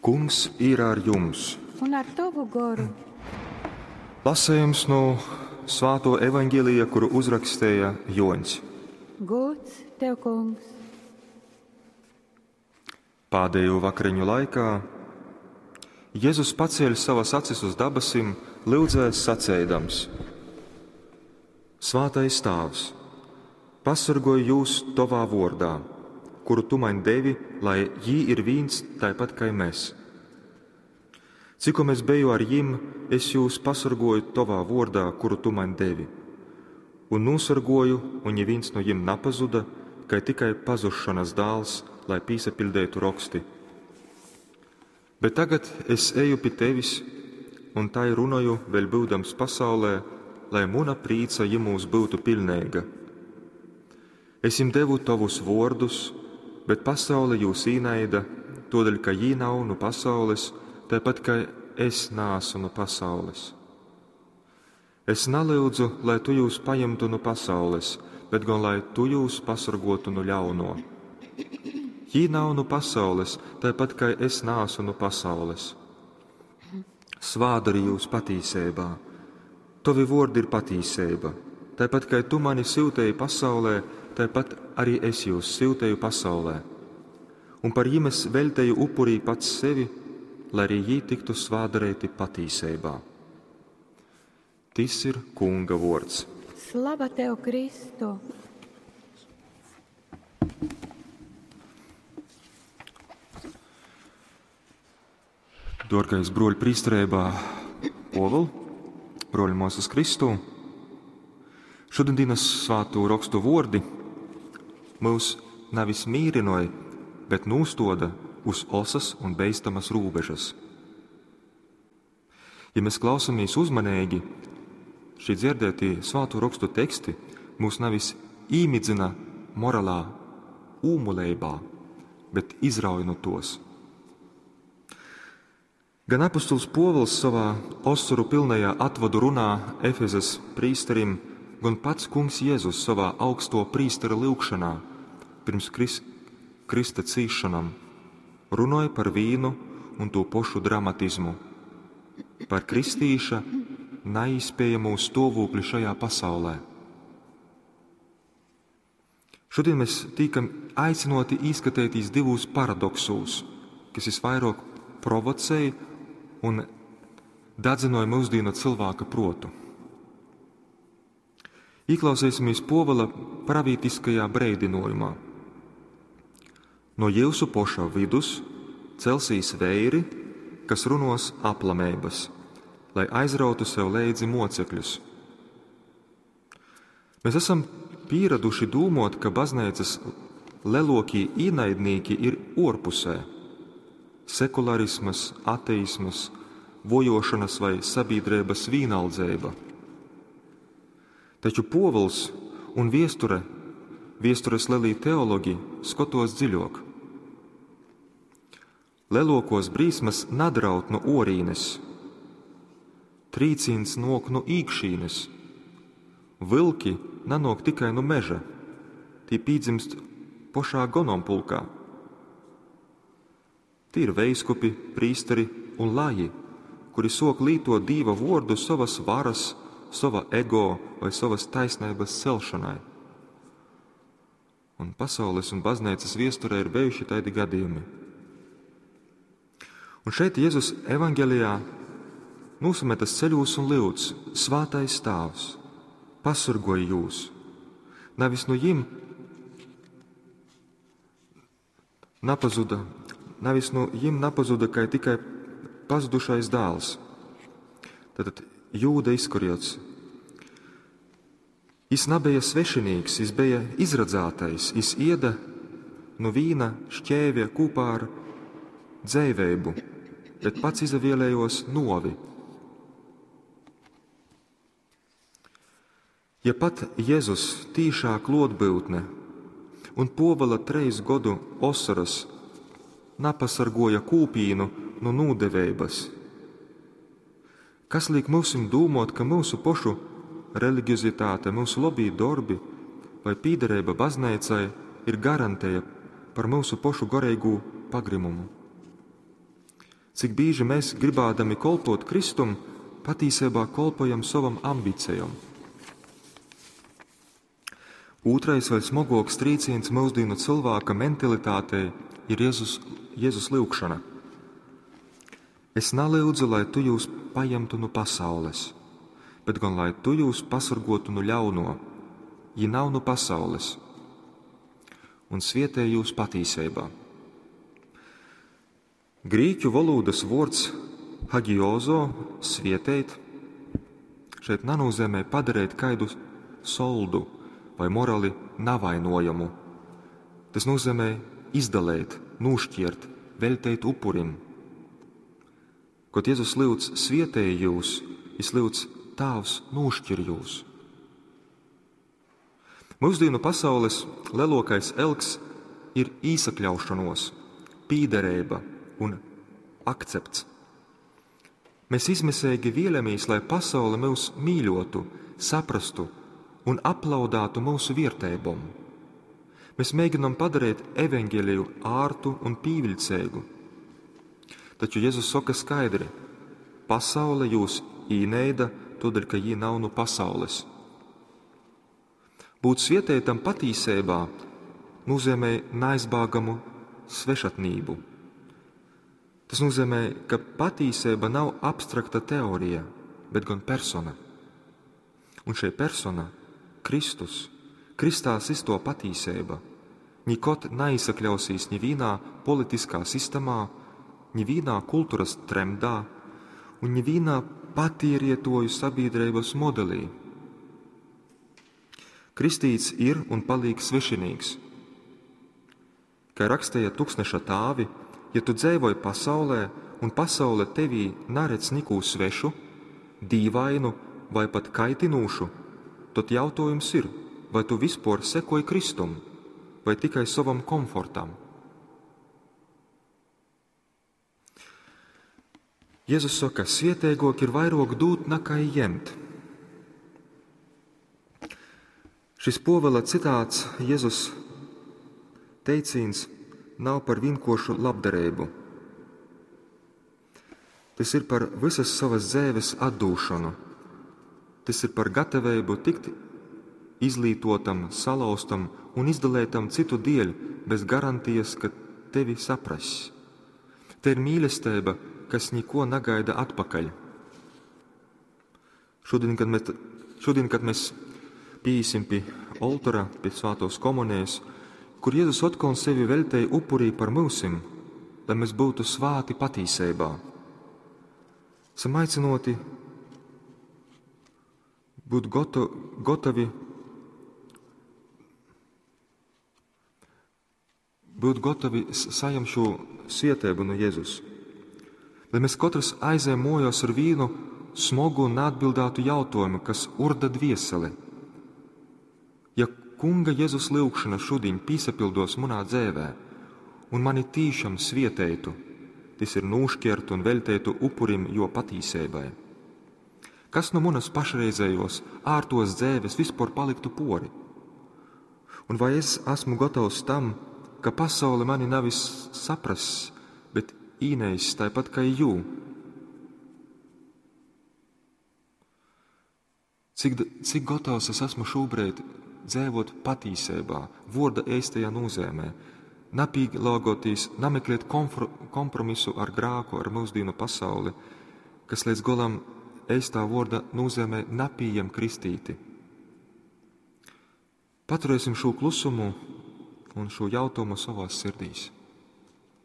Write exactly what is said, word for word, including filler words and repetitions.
Kungs ir ar jums! Un ar tovu goru. Lasējums no Svāto evaņģēlija, kuru uzrakstēja Joņs. Gods tev, kungs! Pādējo vakariņu laikā Jēzus pacēla savas acis uz dabasim, lyudzēs sacēdams: Svātais Tāvs, pasargoj jūs tovā vordā, kuru tu maņ devi, lai jī ir vīns taipat kai mēs. Cikom es beju ar jim, es jūs pasargoju tovā vordā, kuru tu maņ devi. Un nosargoju, un neviens no jim napazuda, kai tikai pazušanas dāls, lai pīsapiļdētu roksti. Bet tagad es eju pie tevis, un tai runoju, vēl būdams pasaulē, lai muna prīca jimūs būtu pilnīga. Es jim devu tavus vārdus, bet pasaule jūs īnaida, todēļ, ka jī nav no pasaules, tāpat kā es nāsu no pasaules. Es nalūdzu, lai tu jūs paņemtu no pasaules, bet gan lai tu jūs pasargotu no ļauno. Jī nav no pasaules, tāpat kā es nāsu no pasaules. Svādari jūs patīsībā. Tovi vordi ir patīsība. Tāpat kā tu mani sūtēji pasaulē, tāpat arī es jūs sūtēju pasaulē. Un par jim es veltēju upurī pats sevi, lai arī jī tiktu svādarēti patīsībā. Tis ir Kunga vords. Slava tev, Kristu! Dorgais broļi prīsterībā Povel, broļi mūsas Kristū, šodienas svātu rakstu vordi mūs nevis mīrinoja, bet nūstoda uz osas un beistamas rūbežas. Ja mēs klausamies uzmanīgi, šī dzirdētie svātu rakstu teksti mūs nevis īmidzina morālā ūmuleibā, bet izrauj no tos. Gan apustulis Povuls savā osoru pilnajā atvadu runā Efezes prīsterim, gan pats kungs Jēzus savā augsto prīstera lūgšanā pirms Kris, Krista cīšanam runoja par vīnu un to pošu dramatizmu, par kristīša neizspējamo stāvokli šajā pasaulē. Šodien mēs tīkam aicinoti īskatētīs divos paradoksos, kas visvairāk provocēja un dadzinoja mūsdienu cilvēka protu. Ieklausīsimies Povala pravītiskajā breidinojumā. No jūsu poša vidus celsīs veiri, kas runos aplamēbas, lai aizrautu sev leidzi mocekļus. Mēs esam pieraduši dūmot, ka baznīcas lelokie ienaidnieki ir orpusē - sekularismas, ateismas, vojošanas vai sabiedrības vīnaldzēba. Taču Povuls un viesture, viestures lelī teologi skatos dziļok. Lelokos brīsmas nadraut no orīnes, trīcīns nok no īkšīnes, vilki nanok tikai no meža, tī pīdzimst pošā gonompulkā. Tī ir veiskupi, prīsteri un laji, kuri sok līto dīva vordu savas varas, sava ego vai savas taisnības celšanai. Un pasaules un baznīcas viesturē ir bijuši tādi gadījumi. Un šeit Jēzus evaņgelijā nosametas ceļos un lūdz: Svātais Tāvs, pasargoj jūs! Nevis no jim napazuda, nevis no jim napazuda, kai tikai pazudušais dēls. Tātad Jūda Iskariots. Jis nebija svešinīgs, jis bija izradzātais, jis ieda no vīna šķēvja kopā ar dzēvēbu, bet pats izavielējos novi. Ja pat Jēzus tīšā klotbūtne un povala treis godu osaras napasargoja kūpīnu no nūdeveibas, kas liek mūsim dūmot, ka mūsu pošu religiozitāte, mūsu lobī darbi vai pīderība baznīcai ir garantēja par mūsu pošu goreigu pagrimumu? Cik bīži mēs, gribādami kolpot Kristum, patīsībā kolpojam sovam ambīcijom. Ūtrais vēl smogoks trīciens mūsdienu cilvēka mentalitātei ir Jēzus, Jēzus lyugšana. Es nalūdzu, lai tu jūs paņemtu no pasaules, bet gan lai tu jūs pasargotu no ļauno, ja nav no pasaules, un svietē jūs patīsībā. Grīķu valodas vārds hagiozo, svietēt, šeit nenozīmē padarīt kaidu soldu vai morāli navainojamu. Tas nozīmē izdalēt, nošķirt, veltēt upurim. Kad Jēzus lūdz svietēji jūs, viņš lūdz Tāvs nošķir jūs. Mūsdienu pasaules lielākais elks ir īsakļaušanos, pīderība un akcepts. Mēs izmisīgi vēlamies, lai pasaule mūs mīļotu, saprastu un aplaudātu mūsu vērtībām. Mēs mēģinām padarīt evaņģēliju ārtu un pīviļcīgu. Taču Jēzus saka skaidri: pasaule jūs īneida, tādēļ, ka jī nav no pasaules. Būt svietētam patīsībā nozīmē neaizbēgamu svešatnību. Tas nozīmē, ka patīsība nav abstrakta teorija, bet gan persona. Un šī persona, Kristus, Kristās izto patīsība, nikot neizsakļausīs nevienā politiskā sistēmā, nevienā kultūras trendā un nevienā patīrietoju sabiedrības modelī. Kristīts ir un paliek svešinīgs. Kā rakstīja Tuksneša tāvi, ja tu dzīvoji pasaulē un pasaule tevī neredz neko svešu, dīvainu vai pat kaitinūšu, tad jautājums ir, vai tu vispār sekoji Kristum vai tikai savam komfortam. Jēzus saka, svietēgok ir vairāk dūt nekā ņemt. Šis Pōvila citāts Jēzus teicīns nav par vienkāršu labdarību. Tas ir par visas savas dzīves atdūšanu. Tas ir par gatavību tikt izlītotam, salauztam un izdalētam citu dēļ bez garantijas, ka tevi saprass. Te ir mīlestība, kas neko negaida atpakaļ. Šodien, kad mēs, šodien, kad mēs piesim pie oltora, pie svētos komunijas, kur Jēzus atkal sevi veltēja upurī par mūsim, lai mēs būtu svāti patīsībā. Esam aicinoti būt goto, gotavi, būt gotavi saņemt šo svietēbu no Jēzus. Lai mēs katrs aizējam mojos ar vīnu smogu un neatbildētu jautājumu, kas urda dvieseli. Ja Kunga Jēzus lūgšana šodien pīsapildos manā dzēvē un mani tīšām svietētu, tas ir nūšķert un veltētu upurim jo patīsībai. Kas no manas pašreizējos ārtos dzēves vispār paliktu pori? Un vai es esmu gatavs tam, ka pasaule mani nevis saprass, bet īneis tāpat kā jū? Cik, cik gatavs es esmu šobrīd dzīvot patīsībā, vorda eistajā nozīmē, napīlāgoties, nameklēt komfro, kompromisu ar grāku, ar mūsdienu pasauli, kas līdz golam eistā vorda nozīmē napījam kristīti. Paturēsim šo klusumu un šo jautājumu savās sirdīs.